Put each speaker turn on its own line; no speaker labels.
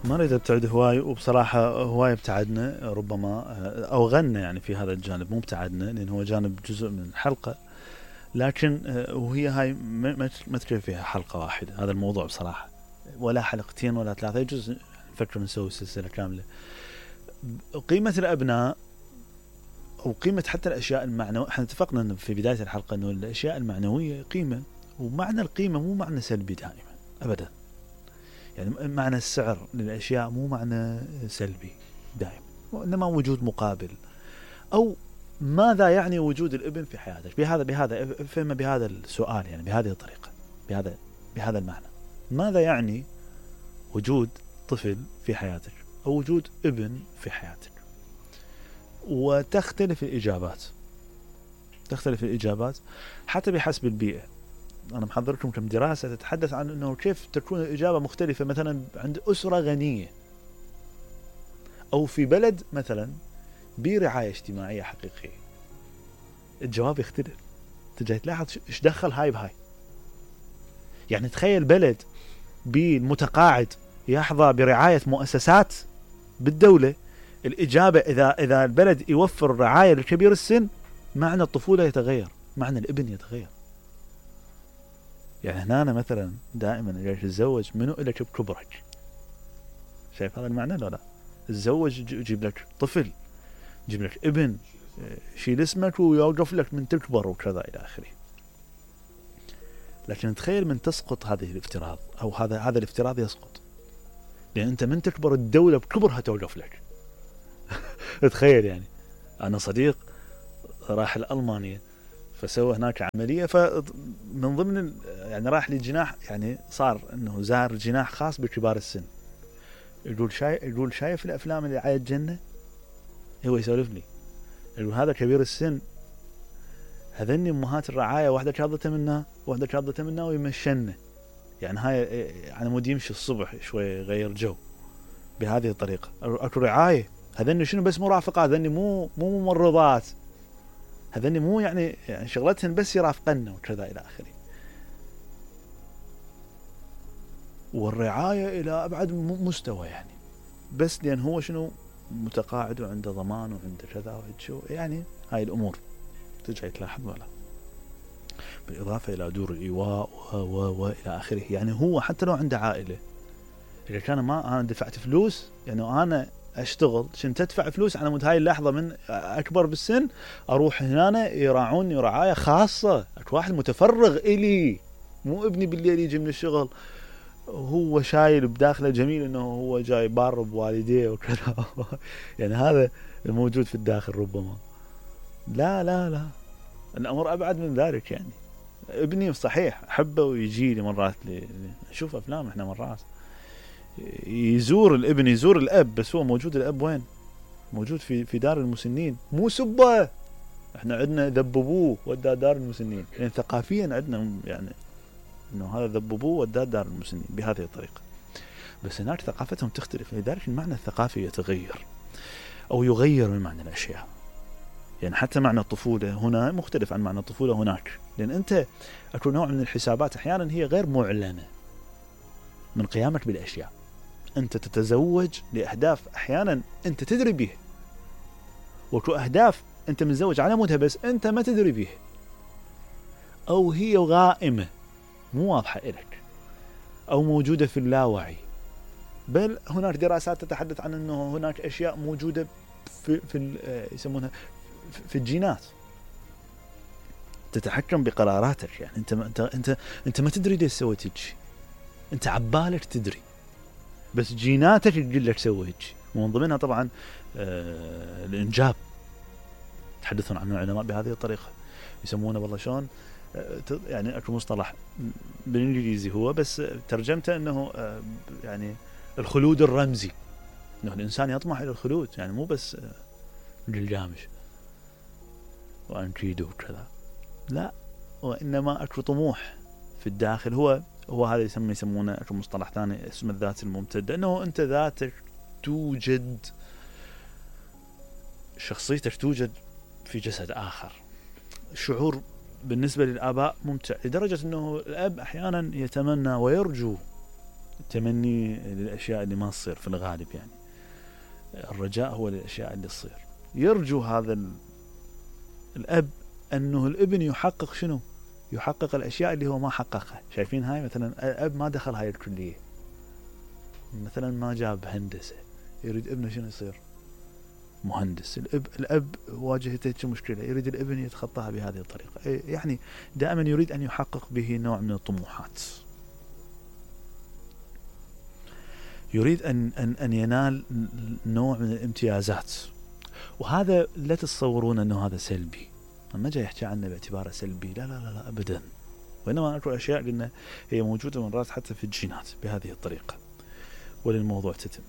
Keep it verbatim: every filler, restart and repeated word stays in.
ما نريد ابتعد هواي، وبصراحة هواي ابتعدنا ربما او غنى يعني في هذا الجانب، مو ابتعدنا لان هو جانب جزء من الحلقة، لكن وهي هاي ما تكفي فيها حلقة واحدة هذا الموضوع بصراحة، ولا حلقتين ولا ثلاثة، يجوز نفكر نسوي سلسلة كاملة. قيمة الأبناء أو قيمة حتى الأشياء المعنوية، احنا اتفقنا في بداية الحلقة أنه الأشياء المعنوية قيمة، ومعنى القيمة مو معنى سلبي دائما أبدا، يعني معنى السعر للأشياء مو معنى سلبي دائما، وإنما وجود مقابل. أو ماذا يعني وجود الابن في حياتك؟ بهذا بهذا فهم بهذا السؤال، يعني بهذه الطريقة، بهذا بهذا المعنى، ماذا يعني وجود طفل في حياتك أو وجود ابن في حياتك؟ وتختلف الإجابات، تختلف الإجابات حتى بحسب البيئة. أنا محضر لكم كم دراسة تتحدث عن أنه كيف تكون الإجابة مختلفة مثلا عند أسرة غنية أو في بلد مثلا برعاية اجتماعية حقيقية، الجواب يختلف. تجي تلاحظ إيش دخل هاي بهاي. يعني تخيل بلد بالمتقاعد يحظى برعاية مؤسسات بالدولة، الإجابة إذا إذا البلد يوفر رعاية لكبير السن، معنى الطفولة يتغير، معنى الابن يتغير. يعني هنا أنا مثلا دائما جاي تتزوج منو إلك بكبرك، شايف هذا المعنى لا لا؟ تتزوج يجيب لك طفل، يجيب لك ابن، شيل اسمك ويوقف لك من تكبر وكذا إلى آخره. لكن تخيل من تسقط هذه الافتراض، أو هذا هذا الافتراض يسقط، لأن أنت من تكبر الدولة بكبرها توقف لك. تخيل يعني أنا صديق راح لألمانيا فسوى هناك عملية، فمن ضمن يعني راح لجناح، يعني صار إنه زار جناح خاص بكبار السن. يقول شايف يقول شايف الأفلام اللي على الجنة، هو يسولف لي يقول هذا كبير السن، هذني أمهات الرعاية، واحدة شاضته منها واحدة شاضته منها ويمشنه، يعني هاي يعني مود يمشي الصبح شوي يغير جو بهذه الطريقة. أكو رعاية، هذني شنو بس مرافقات، هذني مو مو ممرضات، هذني مو يعني, يعني شغلتهن بس يرافقنا وكذا إلى آخره. والرعاية إلى أبعد مستوى، يعني بس لأن هو شنو متقاعد وعنده ضمان وعنده كذا وهيك، يعني هاي الأمور تجي تلاحظ ولا، بالإضافة إلى دور الإيواء و و وإلى آخره. يعني هو حتى لو عنده عائلة، إذا كان ما أنا دفعت فلوس، يعني أنا أشتغل عشان تدفع فلوس على مود هاي اللحظة من أكبر بالسن أروح هنا يراعوني رعاية خاصة. أكو واحد متفرغ إلي، مو ابني بالليل يجي من الشغل هو شايل بداخله جميل إنه هو جاي بار بوالديه وكذا. يعني هذا الموجود في الداخل ربما. لا لا لا، الأمر أبعد من ذلك. يعني ابني صحيح أحبه ويجي لي مرات لي نشوف أفلام إحنا مرات يزور الابن يزور الأب، بس هو موجود الأب وين؟ موجود في في دار المسنين. مو سبه، احنا عندنا ذببوه وداه دار المسنين، يعني ثقافيا عندنا يعني انه هذا ذببوه وداه دار المسنين بهذه الطريقة. بس هناك ثقافتهم تختلف، لذلك المعنى الثقافي يتغير او يغير من معنى الاشياء. يعني حتى معنى الطفولة هنا مختلف عن معنى الطفولة هناك، لان انت اكو نوع من الحسابات احيانا هي غير معلنة من قيامك بالاشياء. أنت تتزوج لأهداف أحيانا أنت تدري بيه، وكو أهداف أنت متزوج على مودها بس أنت ما تدري بيه، أو هي غائمة مو واضحة إلك، أو موجودة في اللاوعي. بل هناك دراسات تتحدث عن أنه هناك أشياء موجودة في, في يسمونها في الجينات تتحكم بقراراتك. يعني أنت أنت أنت أنت ما تدري ليش سويت هيك، أنت عبالك تدري، بس جيناتك تقول لك سوي هيك. ومن ضمنها طبعا آه الإنجاب، تحدثون عنه العلماء بهذه الطريقة، يسمونه والله شلون آه يعني أكو مصطلح بالإنجليزي هو بس ترجمته أنه آه يعني الخلود الرمزي، أنه الإنسان يطمح إلى الخلود، يعني مو بس آه للجامش وأنكيدو وكذا، لا، وإنما أكو طموح في الداخل. هو هو هذا يسمى يسمونه أكو مصطلح ثاني اسمه الذات الممتدة، أنه أنت ذاتك توجد، شخصيتك توجد في جسد آخر. الشعور بالنسبة للآباء ممتع لدرجة أنه الأب أحيانا يتمنى ويرجو تمني للأشياء اللي ما تصير في الغالب، يعني الرجاء هو للأشياء اللي تصير. يرجو هذا الأب أنه الابن يحقق شنو؟ يحقق الأشياء اللي هو ما حققها. شايفين هاي مثلا الأب ما دخل هاي الكلية، مثلا ما جاب هندسة، يريد ابنه شنو يصير؟ مهندس. الأب الأب واجهته مشكلة، يريد الابن يتخطاها بهذه الطريقة. يعني دائما يريد أن يحقق به نوع من الطموحات، يريد أن أن أن ينال نوع من الامتيازات. وهذا لا تتصورون أنه هذا سلبي، ما جاي يحكي عنه باعتباره سلبي، لا لا لا, لا أبدا، وإنما أكو أشياء لأن هي موجودة من رأس حتى في الجينات بهذه الطريقة، وللموضوع تتم.